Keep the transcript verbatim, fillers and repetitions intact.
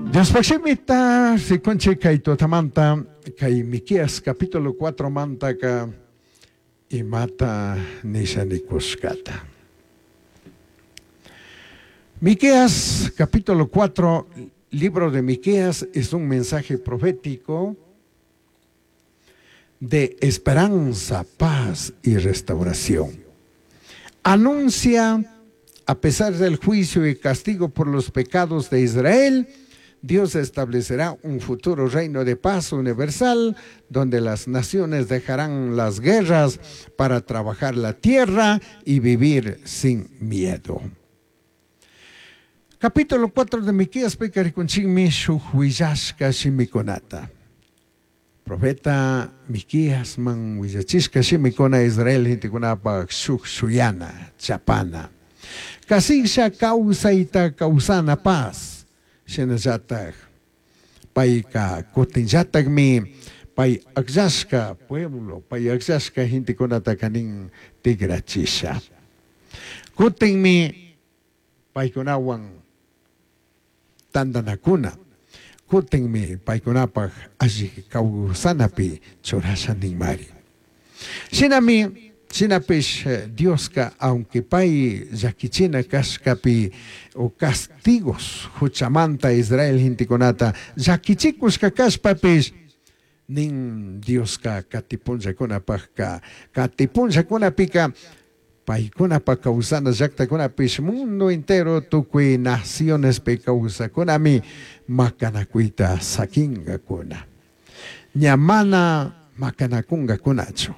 Diospaj shimita rikunchik kay tutamanta kay Miqueas capítulo cuatro mantaka imata nisha nikushkata. Miqueas capítulo cuatro, libro de Miqueas, es un mensaje profético de esperanza, paz y restauración. Anuncia, a pesar del juicio y castigo por los pecados de Israel, Dios establecerá un futuro reino de paz universal, donde las naciones dejarán las guerras para trabajar la tierra y vivir sin miedo. Capítulo cuatro de Miqueas rikunchikmi shuj huillashka shimikunata. Profeta Miqueas man huillachishka shimikuna Israel gentekunapaj shuj shuyana, chapana. Kasilla kawsayta kawsana paz. Shinallataj payka kutinllatakmi pay akllashka pueblo, pay akllashka gentekunataka nin tigrachisha. Kutinmi paykunawan tantanakuna. Kutinmi paykunapaj alli kawsanapi churasha ninmari. Shinami shinapish Dioska aunque pay llakichina kashkapi o castigos huchamanta Israel gentekunata llakichikushka kashpapish nin Dioska katipunllakunapajka katipunllakunapika paykunapaj kawsana llaktakunapish mundo entero tukuy nacionespi kawsakunami makanakuyta sakinkakuna. Ña mana makanakunkakunachu.